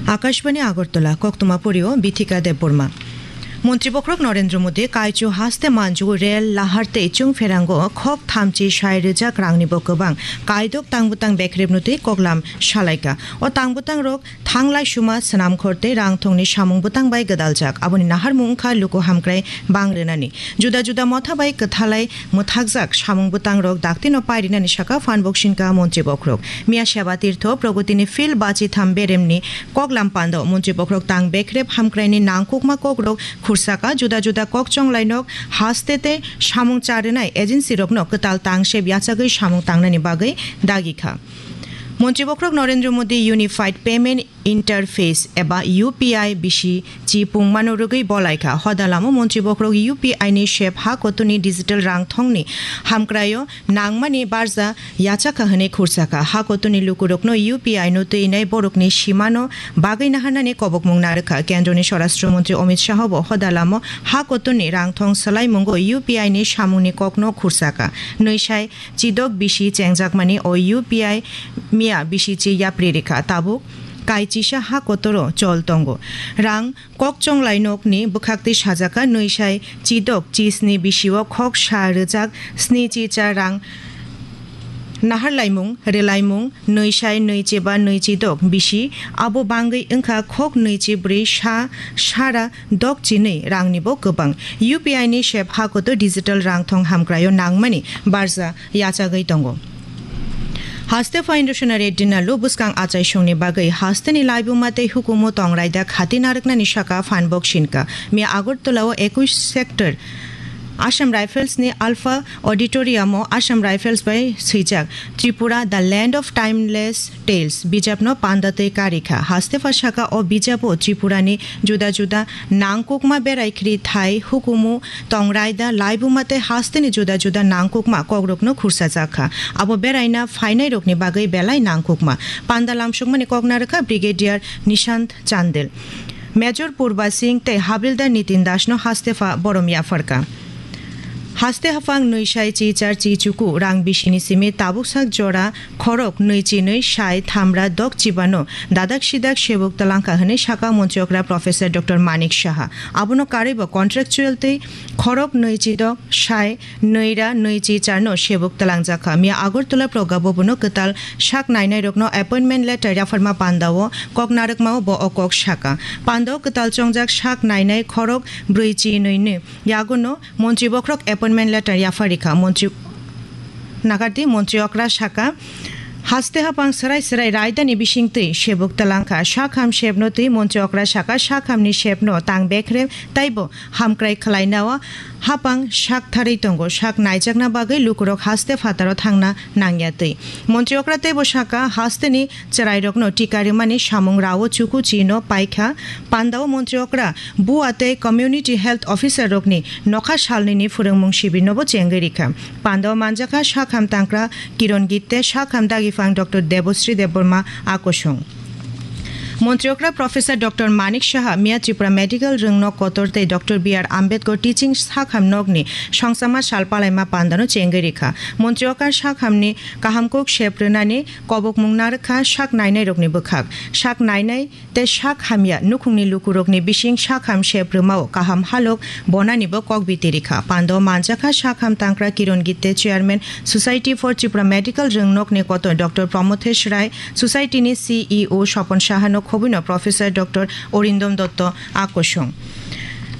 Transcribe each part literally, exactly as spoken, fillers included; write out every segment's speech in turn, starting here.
Akashbani Agartala, koktwma porio Bithika Debbarma. Montri bokhorok Narendra Modi kaichu haste manju rel lahar tei chwng pherango khok thamchi sai rwjak rangni bo kwbang kaidok tangbwtang bekrep nutwi koklam salaikha. O tangbwtang rok thanglai suma swnamkhor tei rangthongni samung bwtang bai gwdaljak. Aboni naharmung wngkha luku hamkrai bang rwnani. Juda juda motha bai kwthalai mwthakjak samung bwtang rok daktino pairinani saka phan boksinka montri bokhorok. Miya Seba Tirtho Pragotini Field bachi tham beremni koklam pando montri bokhorok tang bekrep hamkraini nangkukma kokrok khursaka juda juda kokchong lainok haste tei samung charwnai agency rokno kwtal tangsep yachagwi samung tangnani bagwi dagikha. Montri bokhorok Narendra Modi Unified Payment Interface eba U P I bisi chi pungmano rwgwi bolaikha. Hoda lamo montri bokhorok U P I ni sep ha kotuni digital rang thongni hamkraio nangmani barja yachakha hwnwi khursakha. Ha kotuni lukurokno U P I no twinai borokni simano bagwi naharnani kobokmung narwkha. Kendroni Swarashtra Montri Amit Shah bo hoda lamo ha kotuni rang thong swlaimungo U P I ni samungni kokno khursakha. Nwisai chidok bisi chengjakmani o U P I miya bisi chi yapri rikha. Tabuk kai chisa ha kotoro chol tongo. Rang kokchong lainokni bwkhaktwi sajaka nwisai chidok chisni bisio khok sa rwjak sni chicha rang naharlaimung, rwlaimung, nwisai nwichiba nwichidok bisi abo bangwi wngkha khok nwichibrwi sa sara dok chinwi rangnibo kwbang. U P I ni sep hakoto digital rangthong hamkraio nangmani barja yachagwi tongo. Haste phaino Sona Reddy Nallu bwskang achaisongni bagwi hasteni laibuma tei hukumu tongrai da khati narwknani saka phan boksinka. Miya Agartala o ekush sector Assam Rifles ni Alpha Auditorium o Assam Rifles bai swijak Tripura, The Land of Timeless Tales bijapno panda tei karikha. Haste phasaka o bijapo Tripura ni juda juda nangkukma berai khri thai hukumu tongrai da laibuma tei hasteni juda juda nangkukma kokrokno khursajakha. Abo beraina phainairokni bagwi belai nangkukma. Panda lamsukmani kok narwkha Brigadier Nishant Chandel. Major Purba Singh tei Havildar Nitin Dasno hastepha borom yapharka. Haste haphang nwi sai chi char chi chuku rang bisini simi tabuk sak jora khorok nwi chi nwi sai thamra dok chibano dadak sidak sebuk talangkha hwnwi saka montri okra Professor Doctor Manik Saha. Abono karwibo contractual tei khorok nwi chi dok sai nwi ra nwi chi charno sebuk talangjakha. Miya Agartala Progga Bhabono kwtal sak nainairokno appointment letter yapharma pandao kok narwkmao bo o kok saka. Pandao kwtal chongjak sak nainai khorok brwi chi nwi ni yagono montri bokhorok appointment letter yapharikha. Montri nagardi montri okra saka, haste hapang serai serai raidani bisingtwi sebuk talangkha. Sakham sepno twi montri okra saka sakhamni sepno tang bekrem taibo hamkrai khwlainao hapang sak tharwi tongo. Sak naijakna bagwi lukurok haste phataro thangna nangya twi. Montri okra teibo saka, hasteni chwrairokno tika rimani samung rao chuku chino paikha. Pandao montri okra bua tei community health officer rokni nokha salnini phwrwngmung sibirnobo chengwi rikha. Pandao manjakha sakham tangkra Kiron Gitte, sakham dagiphan Doctor Debosri Debbarma akosong. Montri okra Professor Doctor Manik Saha miya Tripura Medical Rwngnok Kotor tei Doctor B R Ambedkar Teaching Sakham Nokni songsama sal palaima pandano chengwi rikha. Montri okra sakhamni kaham kok sep rwnani kobokmung narwkha sak nainairokni bwkhak. Sak nainai tei sak hamya nukhungni lukurokni bising sakham sep rwmao kaham halok bonanibo kok biti rikha. Pando manjakha sakham tangkra Kiron Gitte, Chairman Society for Tripura Medical Rwngnokni Kotor Doctor Promothesh Rai, Society ni C E O Sopon Sahano khobwino Professor Doctor Orindom Dotto akosong.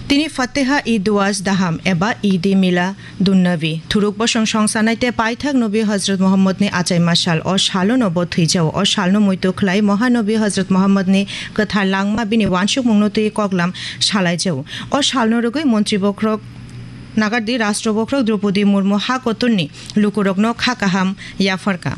Tini Fatiha-i-Duas Daham eba Eid-e-Mila Dunnabi, thuruk bosong songsanai tei paithak Nobi Hazrat Muhammadni achaima sal. O salono bo thwijao. O salno muitu khlai Mohanobi Hazrat Muhammadni kwthar langma bini wansukmungno twi koklam salaijao. O salno rwgwi montri bokhorok nagardi Rashtra bokhorok Droupadi Murmu ha kotorni lukurokno kha kaham yapharka.